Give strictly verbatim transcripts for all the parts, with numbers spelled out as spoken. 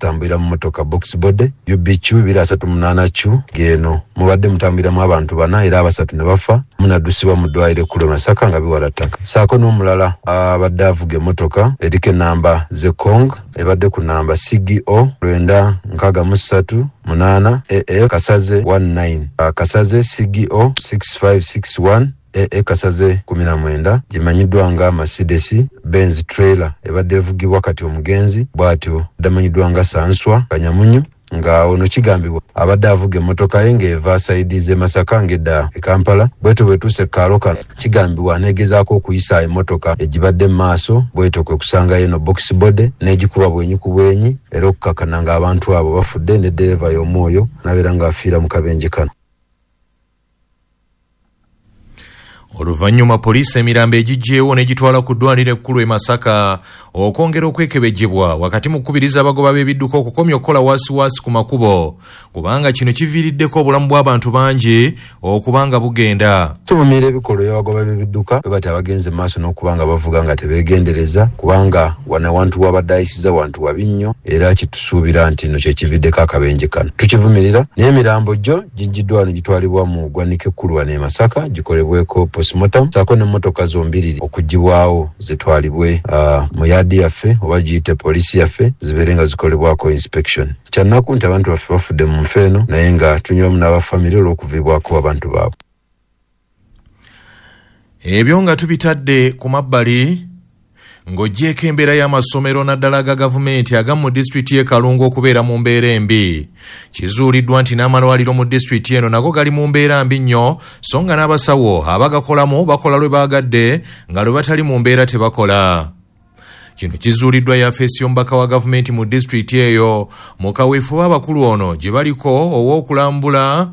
Tutambulira mu motoka box body U B Q two three eight Q geno mubadde mutambuliramu abantu bana, era abasatu ne bafa, munaddusibwa mu ddwaliro ekkulu e Masaka nga biwala ttaka. Saako n'omulala abadde avuga emmotoka eriko enamba Zekong, ebadde ku namba C G O lwenda nkaaga mu ssatu munaana A A Kasaze nineteen, Kasaze C G O six five six one A A Kasaze kumi na mwenda, gimanyiddwa nga Mercedes Benz trailer ebadde evugibwa kati omugenzi bw'atyo damanyiddwa nga Sanswa Kanyamunyu, nga ono kigambibwa abadde avuga emmotoka ye ng'eva side z'e Masaka ng'edda e Kampala. Bwetyo bwetuuse kaalo kano, kigambibwa negezaako okuyisa emmotoka egibadde mu maaso, bwetyo kwe kusangayo eno box body n'egikuba bwenyi ku bwenyi, era okukakana ng'abantu abo bafudde, ne ddereeva y'omu oyo n'abeera ng'afiira mu kabenje kano. Oluvannyuma poliisi emirambo egiggyewo n'egitwala ku ddwaliro ekkulu e Masaka okwongera okwekebejjebwa, wakati mu kukubiriza abagoba b'ebidduka okukomya okukola waasiwaasi ku makubo, kubanga kino kiviiriddeko obulamu bw'abantu bangi okuba nga bugenda. Tuvumirira ebikolwa eby'abagoba b'ebidduka bwe bati abagenze mu maaso n'okuba nga bavuga nga tebeegendereza, kubanga wano awantu wabadde ayisiza wantu wabi nnyo, era kitusuubira nti no kyekividdeko akabenje kano. Tukivumirira, naye emirambo gyo giggiddwa ne gitwalibwa mu ggwanika ekkulu wano e Masaka gikolebweko postmortem, saako n'emmotoka zombiriri okugibwawo zitwalibwe uh, mu yard yaffe oba giyite poliisi yaffe, zibeere nga zikolebwako inspection. Kyannaku nti abantu baffe bafudde mu nfa eno, naye nga tunywamu n'abafamire olw'okuviibwako abantu baabwe. Ebyo nga tubitadde ku mabbali, ng'oggyeko embeera y'amasomero naddala aga gavumenti agamu mu disitulikiti y'e Kalungu okubeera mu mbeera embi, kizuuliddwa nti n'amalwaliro mu disitulikiti eno nago gali mu mbeera mbi nnyo, so nga n'abasawo abagakolamu bakola lwe baagadde, nga lwe batali mu mbeera tebakola. Kino kizuuliddwa yafeesi y'omubaka wa gavumenti mu disitulikiti eyo mu kaweefube abakulu ono gye baliko ow'okulambula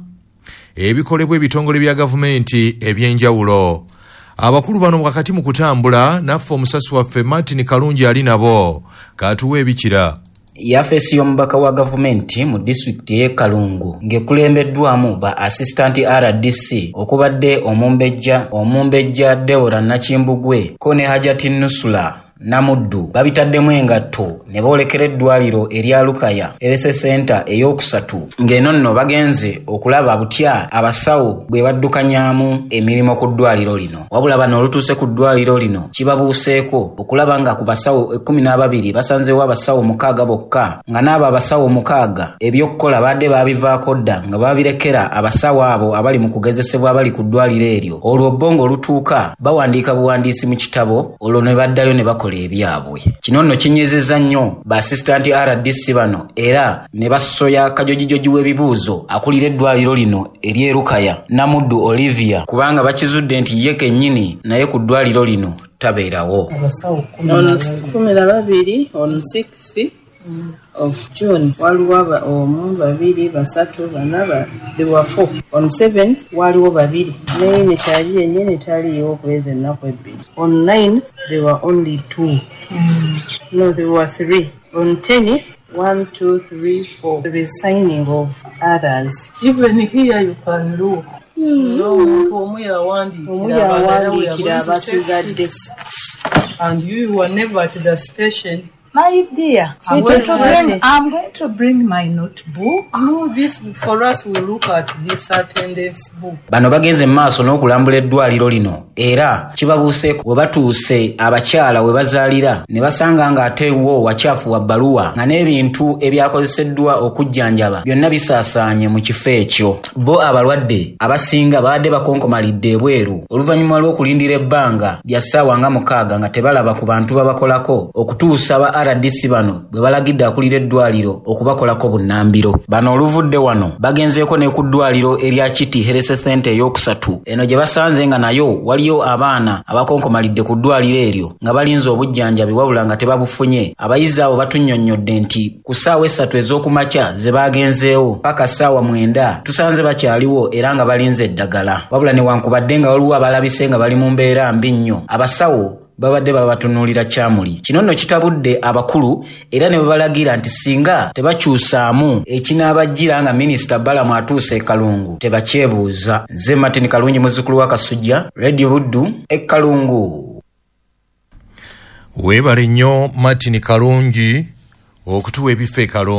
ebikolebwa ebitongole bya gavumenti ebyenjawulo. Abakulu bano wakati mu kutambula naffe, omusasi waffe Martin Kalungi ali nabo, katuwa ebikira. Yafeesi y'omubaka wa gavumenti mu disitulikiti ey'e Kalungu ng'ekulembeddwamu ba assistant R D C okubadde omumbejja omumbejja Debora Nakimbugwe ko ne Hajati Nusula Namuddu, babitaddemu engatto ne boolekera eddwaliro erya Lukaya Health Center ey'okusatu, ng'eno nno bagenze okulaba butya abasawo bwe baddukanyaamu emirimu ku ddwaliro lino. Wabula bano olutuuse ku ddwaliro lino, kibabuuseeko okulaba nga ku basawo ekkumi n'ababiri basanzeewo abasawo mukaaga bokka, nga n'abo abasawo mukaaga ebyokukola badde baabivaako dda, nga babirekera abasawo abo abali mu kugezesebwa abali ku ddwaliro eryo. Olwo bo ng'olutuuka bawandiika buwandiisi mu kitabo, olwo ne baddayo ne bakola ebyabwe. Kino nno kinyizizza nnyo ba assistant R D C bano, era ne basoya kajojijoji w'ebibuuzo akulira eddwaliro lino ery'e Lukaya, Namuddu Olivia, kubanga bakizudde nti ye kennyini naye ku ddwaliro lino tabeerawo. Ono kumi na babiri, on sixth of June waliwo aba- omu, babiri, basatu, bana, ba- there were four. On seventh waliwo babiri, naye ne kyali yennyini taliiwo okuweza ennaku ebbiri. On ninth there were only two, no, there were three. On tenth, one, two, three, four. The signing of others. Even here you can look. Omuntu omu Omu yawandiikira abalala we yawandiikira are going to take abasigadde. six. And you were never at the station. My dear, I'm going to bring, I'm going to bring my notebook. No, this for us we look at this attendance book. Bano bagenze mu maaso n'okulambula eddwaliro lino, era kibabuuseeko we batuuse abakyala we bazaalira ne basanga ng'ate wo wakyafu wa bbaluwa, nga n'ebintu ebyakozeseddwa okujjanjaba byonna bisaasaanye mu kifo ekyo. Bo abalwadde abasinga babadde bakonkomalidde ebweru oluvannyuma lw'okulindira ebbanga lya ssaawa nga mukaaga nga tebalaba ku bantu babakolako, okutuusa ba R D C bano bwe balagidde akulira eddwaliro okubakolako bunnambiro. Bano oluvudde wano bagenzeeko ne ku ddwaliro erya Kiti Health Center ey'okusatu, eno gye basanze nga nayo waliyo abaana abakonkomalidde ku ddwaliro eryo nga balinze obujjanjabi, wabula nga tebabufunye. Abayizi abo batunnyonnyodde nti ku ssaawa essatu ez'okumakya ze bagenzeewo paka ssaawa mwenda tusanze bakyaliwo era nga balinze eddagala, wabula newankubadde nga waliwo abalabise nga bali mu mbeera mbi nnyo, abasawo babadde babatunuulira kyamuli. Kino nno kitabudde abakulu, era ne babalagira nti singa tebakyusaamu ekinaabajjira nga minisita Balamu atuuse e Kalungu tebakyebuuza. Nze Martin Kalungi, muzzukulu wa Kasujja, Radio Buddu e Kalungu. Weebale nnyo Martin Kalungi okutuwa ebifo e Kalungu.